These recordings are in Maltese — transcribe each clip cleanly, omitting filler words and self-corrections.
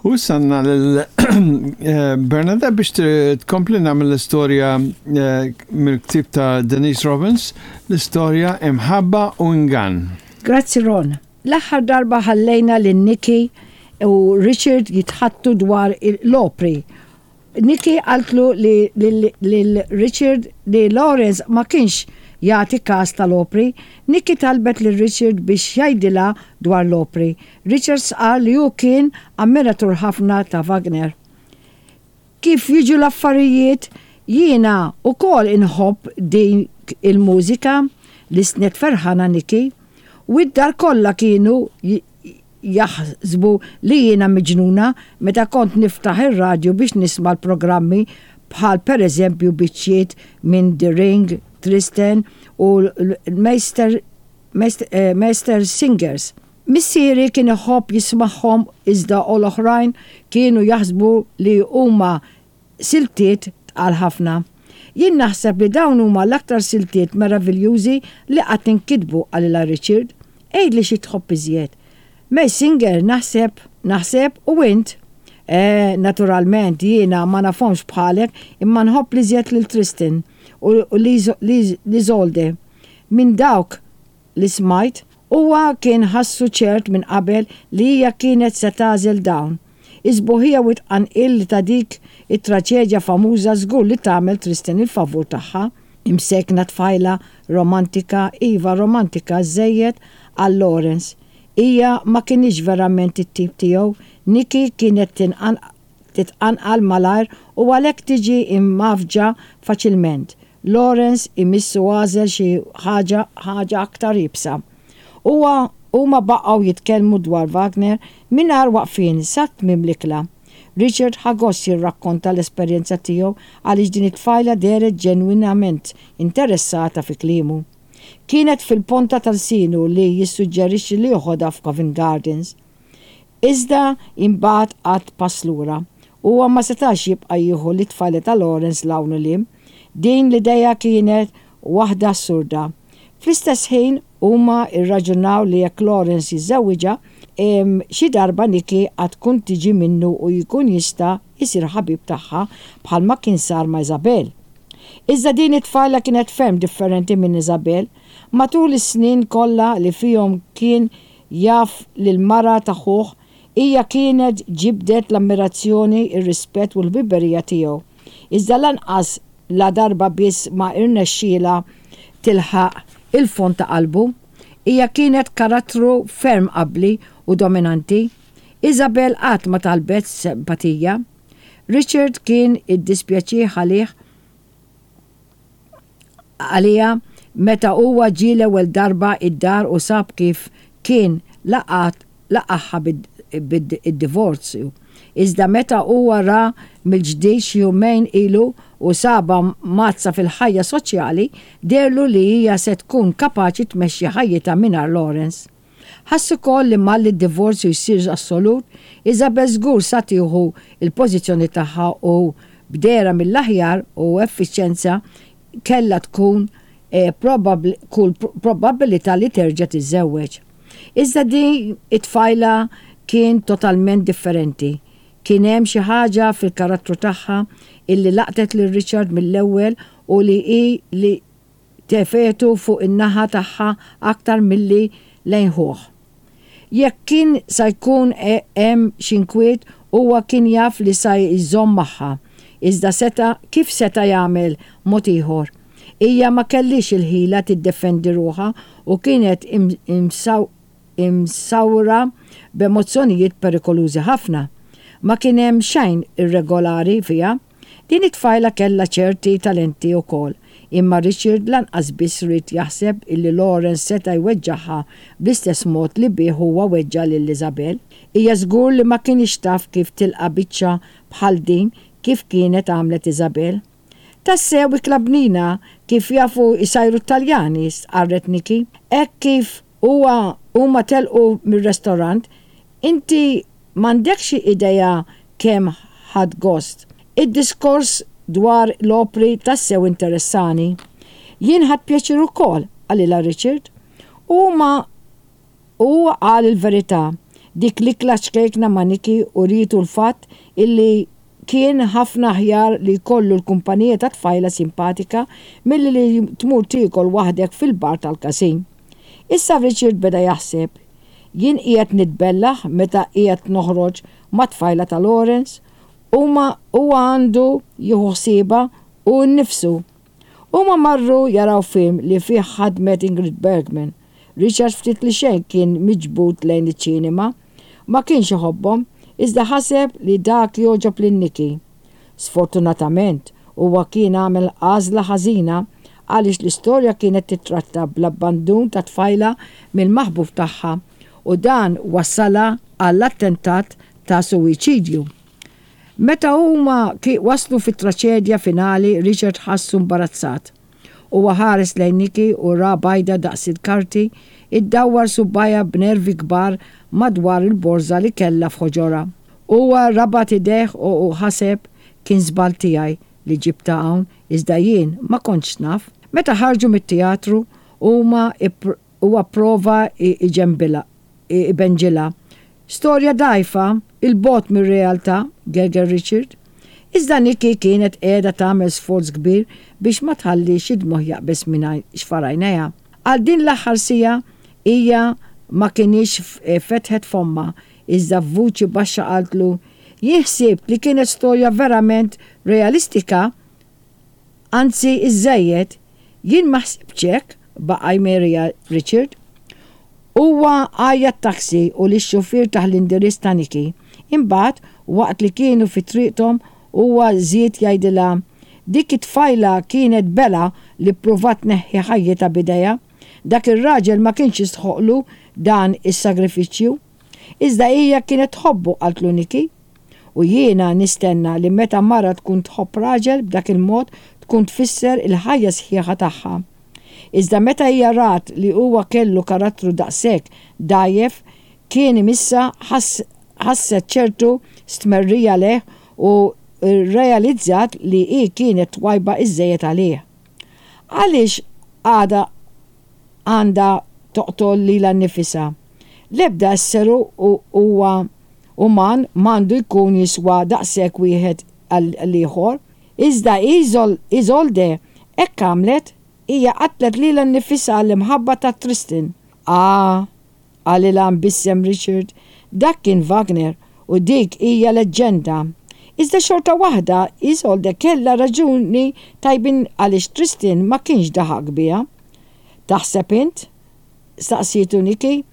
U issa għandna lil eh, Bernadette biex tkompli nagħmel l-istorja eh, mill-ktieb ta' Denise Robbins, l-istorja Imħabba u Ingann. Grazzi Ron. L-aħħar darba ħallejna lil Nikki u Richard jitħaddtu dwar l-opri Nikki qaltlu li lil Richard li Lawrence ma kienx jagħti kas tal-opri. Nikki talbet lil Richard biex jgħidilha dwar l-opri. Richard stqarr li hu kien ammiratur ħafna ta' Wagner. Kif jiġu l-affarijiet, jiena wkoll inħobb dik il-mużika, lissnet ferħana Nikki. U d-dar kollha kienu jaħsbu li jiena miġnuna meta kont niftaħ ir-radju biex nisma' l-programmi bħal pereżempju biċċiet minn The Ring, Tristan u l-Meister Meister Singers. Missieri kien iħobb jismagħhom iżda l-oħrajn kienu jaħsbu li huma siltiet tqal ħafna. Jien naħseb li dawn huma l-aktar siltiet meraviljużi li qatt inkitbu, qalilha Richard. Għidli xi tħobb iżjed. Mazinger, naħseb, naħseb, u int? Eh, naturalment, jiena ma nafhomx bħalek, imma nħobb l-iżjed lil Tristan u l-Isolde. Minn dawk li smajt, huwa kien ħassu ċert minn qabel li hija kienet se tagħżel dawn. Is-sbuħija u t-tqanqil li ta' dik it-traċedja famuża żgur li tagħmel Tristan il-favur tagħha. Imsejkna tfajla romantika, iva romantika żżejjed għal Lawrence. Hija ma kinitx verament it-tip tiegħu, Nikki kienet titqanqal malajr u għalhekk tiġi mgħaffġa faċilment. Lawrence imissu għażel xi ħaġa ħaġa aktar iebsa. Huwa huma baqgħu jitkellmu dwar Wagner mingħajr waqfien sa tmiem l-ikla. Richard ħa gost jirrakkonta l-esperjenza tiegħu għaliex din it-tfajla dehret ġenwinament interessata fi kliemu. Kienet fil-ponta ta' lsienu li jissuġġerixxi li joħodha f'Covent Gardens. Iżda imbagħad qagħad pass lura. Huwa ma setax jibqa' jieħu lit-tfajla ta' Lawrence 'l hawn u 'l hemm. Din l-idea kienet waħda assurda. Fl-istess ħin, huma rraġunaw li jekk Lawrence jiżżewwiġha, xi darba Nikki għad tkun tiġi minnu u jkun jista' jsir ħabib tagħha bħalma kien sar ma' Isabel. Iżda din it-tfajla kienet ferm differenti minn Isabel. Matul is-snin kollha li fihom kien jaf lill-mara ta' ħuh, hija kienet ġibdet l-ammirazzjoni, ir-rispett u l-ħbiberija tiegħu. Iżda lanqas la darba biss ma rnexxielha tilħaq il-fond ta' qalbu. Hija kienet karattru ferm abbli u dominanti. Isabel qatt ma talbet simpatija. Richard kien iddispjaċih għalih għaliha meta huwa ġie l-ewwel darba id-dar u sab kif kien laqagħha bid-divorzju. Iżda meta huwa ra mill-ġdid xi jumejn ilu u sabha mgħaddsa fil-ħajja soċjali, deherlu li hija se tkun kapaċi tmexxi ħajjitha mingħajr Lawrence. Ħass ukoll li malli d-divorzju jsir assolut, Isabel żgur sa tieħu l-pożizzjoni tagħha u b'dehra mill-aħjar u effiċjenza kellha tkun kull probabbilità li terġa' tiżżewweġ. Iżda din it-tfajla kien totalment differenti. Kien hemm xi ħaġa fil-karattru tagħha illi laqtet lil Richard mill-ewwel u li hi li tefgħetu fuq in-naħa tagħha aktar milli lejn ħuh. Jekk kien sa jkun hemm xi nkwiet huwa kien jaf li sa jżomm magħha. Iżda seta' kif seta' jagħmel mod ieħor? Hija ma kellhiex il-ħila tiddefendi ruħha u kienet imsawra b'emozzjonijiet perikolużi ħafna. Ma kien hemm xejn irregolari fiha. Din it-tfajla kellha ċerti talenti wkoll, imma Richard lanqas biss ried jaħseb illi Lawrence seta' jweġġagħha bl-istess mod li bih huwa weġġa' lil Isabel. Hija żgur li ma kinitx taf kif tilqa' biċċa bħal din kif kienet għamlet Isabel. Tassew ikla bnina kif jafu jsajru t-Taljani, stqarret Nikki. Hekk kif huwa huma telqu mir-restorant, inti m'għandekx idea kemm ħadt gost. Id-diskors dwar l-opri tassew interessani. Jien ħadt pjaċir ukoll, qalilha Richard. U huma u huwa qal il-verità. Dik l-ikla ċkejkna ma' Nikki urietu l-fatt illi kien ħafna aħjar li jkollu l-kumpanija ta' tfajla simpatika milli li tmur tiekol waħdek fil-bar tal-każin. Issa Richard beda jaħseb, Jien qiegħed nitbellah meta qiegħed noħroġ mat-tfajla ta' Lawrence? Huma huwa għandu jieħu ħsiebha hu nnifsu. Huma marru jaraw film li fih ħadmet Ingrid Bergman. Richard ftit li xejn kien miġbud lejn iċ-ċinema. Ma kienx iħobbhom, iżda ħaseb li dak jogħġob lil Nikki. Sfortunatament, huwa kien għamel għażla ħażina għaliex l-istorja kienet tittratta bl-abbandun ta' tfajla mill-maħbub tagħha u dan wassalha għall-attentat ta' suwiċidju. Meta huma waslu fit-traċedja finali Richard ħassu mbarazzat. Huwa ħares lejn Nikki u ra bajda daqs il-karti iddawwar subgħajha b'nervi kbar madwar il-borża li kellha f'ħoġorha. Huwa rabat idejh u ħaseb, Kien żball tiegħi li ġibtha hawn iżda jien ma kontx naf. Meta ħarġu mit-teatru huma huwa pprova jġenbilha. Ibenġilha. Storja dgħajfa, 'il bogħod mir-realtà, gerger Richard. Iżda Nikki kienet qiegħda tagħmel sforz kbir biex ma tħallix id-dmugħ jaqbeż minn xfar għajnejha. Għal din l-aħħar siegħa hija ma kinitx fetħet fommha, iżda f'vuċi baxxa qaltlu, Jien ħsibt li kienet storja verament realistika Anzi iżżejjed, jien ma ħsibtx hekk, baqa' jmerija Richard. Huwa għajjat taxi u lix-xufier tah l-indirizz ta' Nikki. Imbagħad, waqt li kienu fi triqthom, huwa żied jgħidilha, Dik it-tfajla kienet belha li ppruvat tneħħi ħajjitha b'idejha. Dak ir-raġel ma kienx jistħoqqlu dan is-sagrifiċċju. Iżda hija kienet tħobbu, qaltlu Nikki. U jiena nistenna li meta mara tkun tħobb raġel b'dak il-mod tkun tfisser il-ħajja sħiħa tagħha. Iżda meta hija rat li huwa kellu karattru daqshekk dgħajjef kien imissha ħasset ċertu stmerrija lejh u rrealizzat li hi kienet twajba iżżejjed għalih. Għaliex għadha għandha toqtol lilha nnifisha? L-ebda esseru huwa uman m'għandu jkun jiswa daqshekk wieħed għall-ieħor. Iżda Isolde hekk għamlet, hija qatlet lilha nnifisha għall-imħabba ta' Tristan. Ah, qalilha mbissem Richard, dak kien Wagner u dik hija leġġenda. Iżda xorta waħda Isolde kellha raġuni tajbin għaliex Tristan ma kienx daħaq biha. Taħseb int? staqsietu Nikki.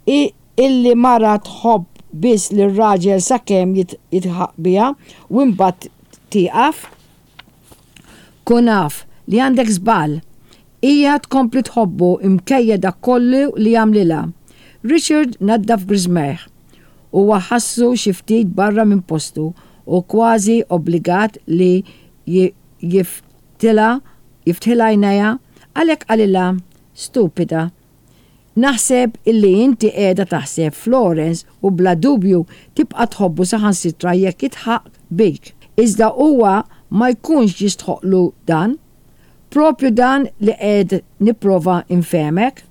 Illi mara tħobb biss lir-raġel sakemm jidħaq biha u imbagħad tieqaf? Kun af li għandek żball. Hija tkompli tħobbu mkejja dak kollu li għamlilha. Richard naddaf griżmejh. Huwa ħassu xi ftit barra minn postu u kważi obbligat li jiftħilha għajnejha, għalhekk qalilha, Stupida. Naħseb illi inti qiegħda taħseb f'Lawrence u bla dubju tibqa' tħobbu saħansitra jekk jidħaq bik. Iżda huwa ma jkunx jistħoqqlu dan. Proprju dan li qiegħed nipprova nfehmek.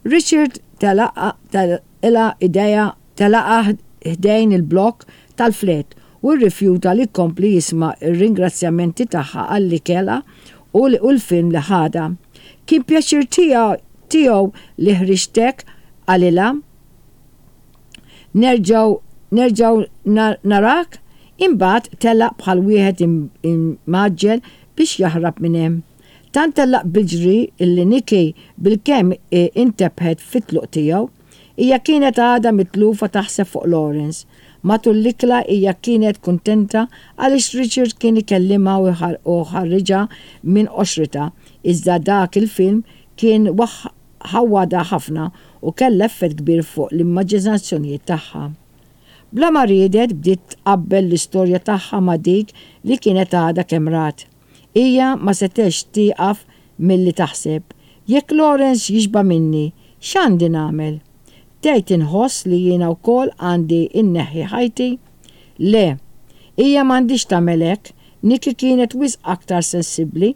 Richard telaqilha idejha telaqha ħdejn il-blokk tal-flat u rrifjuta li jkompli jisma' r-ringrazzjamenti tagħha għall-ikela u l-film li ħadha. Kien pjaċir tiegħu li ħriġtek, qalilha. Nerġgħu nerġgħu narak? Imbagħad telaq bħal wieħed imgħaġġel biex jaħrab minn hemm. Tant telaq bil-ġri li Nikki bilkemm intebħet fit-tluq tiegħu. Hija kienet għadha mitlufa taħseb fuq Lawrence. Matul l-ikla hija kienet kuntenta għaliex Richard kien ikellimha u ħarriġha minn qoxritha, iżda dak il-film kien ħawwadha ħafna u kellha effett kbir fuq l-immaġinazzjonijiet tagħha. Bla ma riedet bdiet tqabbel l-istorja tagħha ma' dik li kienet għadha kemm rat. Hija ma setgħetx tieqaf milli taħseb, Jekk Lawrence jixba' minni, x'għandi nagħmel? Tgħid inħoss li jiena wkoll għandi nneħħi ħajti? Le. Hija m'għandhiex tagħmel hekk. Nikki kienet wisq aktar sensibbli.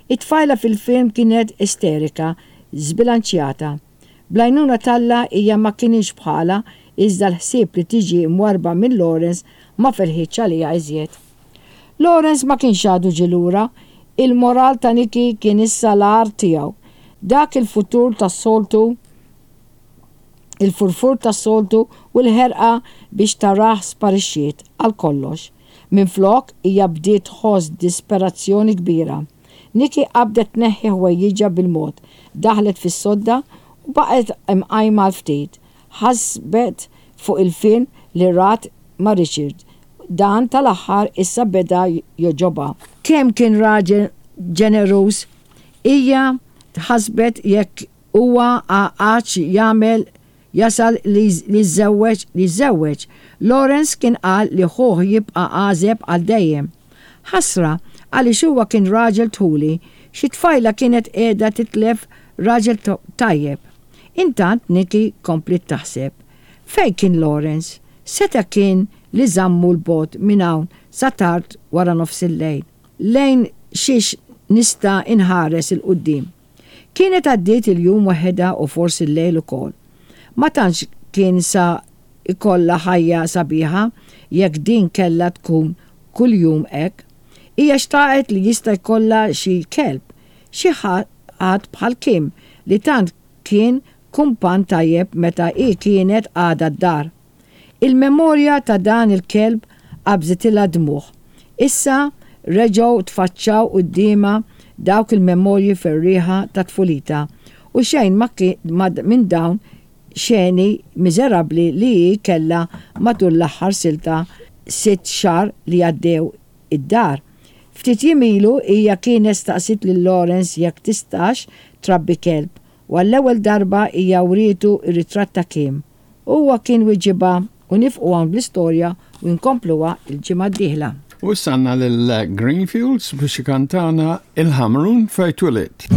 It-tfajla fil-film kienet isterika, żbilanċjata. Bl-għajnuna t'Alla hija ma kinitx bħalha. Iżda l-ħsieb li tiġi mwarrba minn Lawrence ma felħitx għaliha iżjed. Lawrence ma kienx għadu ġie lura. Il-moral ta' Nikki kien issa l-agħar tiegħu. Dak il-futur tas-soltu, il-furfur tas-soltu u l-ħerqa biex tarah sparixxiet għal kollox. Minflok, hija bdiet tħoss disperazzjoni kbira. Nikki qabdet tneħħi ħwejjiġha bil-mod, daħlet fis-sodda u baqgħet imqajma għal ftit. Ħasbet fuq il-film li rat ma' Richard. Dan tal-aħħar issa beda jogħġobha. Kemm kien raġel ġeneruż! Hija ħasbet jekk huwa għadx jagħmel jasal li jiżżewweġ li jiżżewweġ. Lawrence kien qal li ħuh jibqa' għażeb għal dejjem. Ħasra, għaliex huwa kien raġel dħuli. Xi tfajla kienet qiegħda titlef raġel tajjeb. Intant Nikki kompliet taħseb. Fejn kien Lawrence? Seta' kien li żammu 'l bogħod minn hawn sa tard wara nofsillejl. Lejn xiex nista' inħares 'il quddiem? Kienet għaddiet il-jum waħedha u forsi l-lejl ukoll. Ma tantx kien sa jkollha ħajja sabiħa jekk din kellha tkun kuljum hekk. Hija xtaqet li jista' jkollha xi kelb, xi ħadd bħal Kim li tant kien kumpann tajjeb meta hi kienet għadha d-dar. Il-memorja ta' dan il-kelb qabżitilha d-dmugħ. Issa reġgħu tfaċċaw quddiemha dawk il-memorji ferrieħa ta' tfulitha u xejn ma minn dawn xeni miżerabbli li hi kellha matul l-aħħar silta sitt xahar li għaddew id-dar. Ftit jiem ilu hija kienet staqsiet lil Lawrence jekk tistax trabbi kelb u għall-ewwel darba hija wrietu r-ritratt ta' Kim. Huwa kien wiġibha u nifqu hawn bl-istorja u nkompluha l-ġimgħa d-dieħla. U issa għandna lil Greenfields biex ikantana Il-Ħamrun fejn twilidt.